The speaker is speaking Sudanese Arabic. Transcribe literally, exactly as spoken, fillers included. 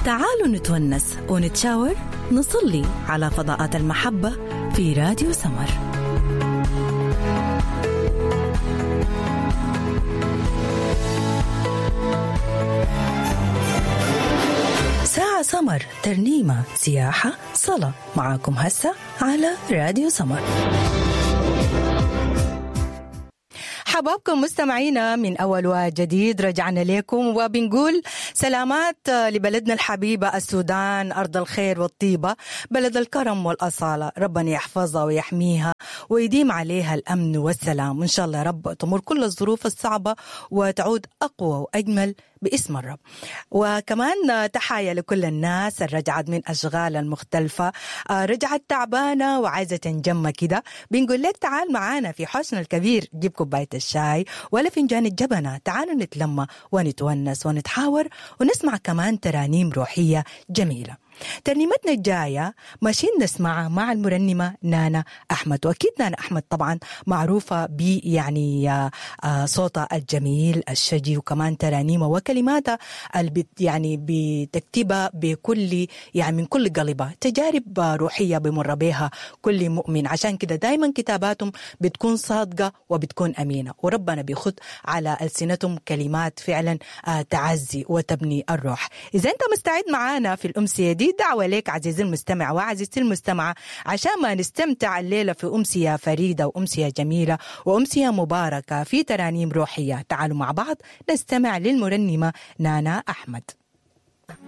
تعالوا نتونس ونتشاور، نصلي على فضاءات المحبة في راديو سمر. ساعة سمر، ترنيمة، سياحة، صلاة، معاكم هسه على راديو سمر. حبابكم مستمعينا من أول وجديد، رجعنا لكم وبنقول سلامات لبلدنا الحبيبة السودان، أرض الخير والطيبة، بلد الكرم والأصالة. ربنا يحفظها ويحميها ويديم عليها الأمن والسلام، وإن شاء الله رب تمر كل الظروف الصعبة وتعود أقوى وأجمل باسم الرب. وكمان تحايا لكل الناس اللي رجعت من أشغال المختلفة، رجعت تعبانة وعايزة تنجم كده، بنقول لك تعال معانا في حوشنا الكبير، جيب كوباية الشاي ولا فنجان الجبنة، تعالوا نتلمى ونتونس ونتحاور ونسمع كمان ترانيم روحية جميلة. ترنيمتنا الجاية ماشيين نسمعها مع المرنمة نانا أحمد، وأكيد نانا أحمد طبعا معروفة ب يعني صوتها الجميل الشجي، وكمان ترانيمة وكلماتها اللي يعني بتكتبها بكل يعني من كل قلبها، تجارب روحية بمر بها كل مؤمن، عشان كده دايما كتاباتهم بتكون صادقة وبتكون أمينة، وربنا بيخد على ألسنتهم كلمات فعلا تعزي وتبني الروح. إذا أنت مستعد معانا في الأمسية دي، دعوة لك عزيزي المستمع وعزيزتي المستمعة عشان ما نستمتع الليلة في أمسية فريدة وأمسية جميلة وأمسية مباركة في ترانيم روحية. تعالوا مع بعض نستمع للمرنمة نانا أحمد.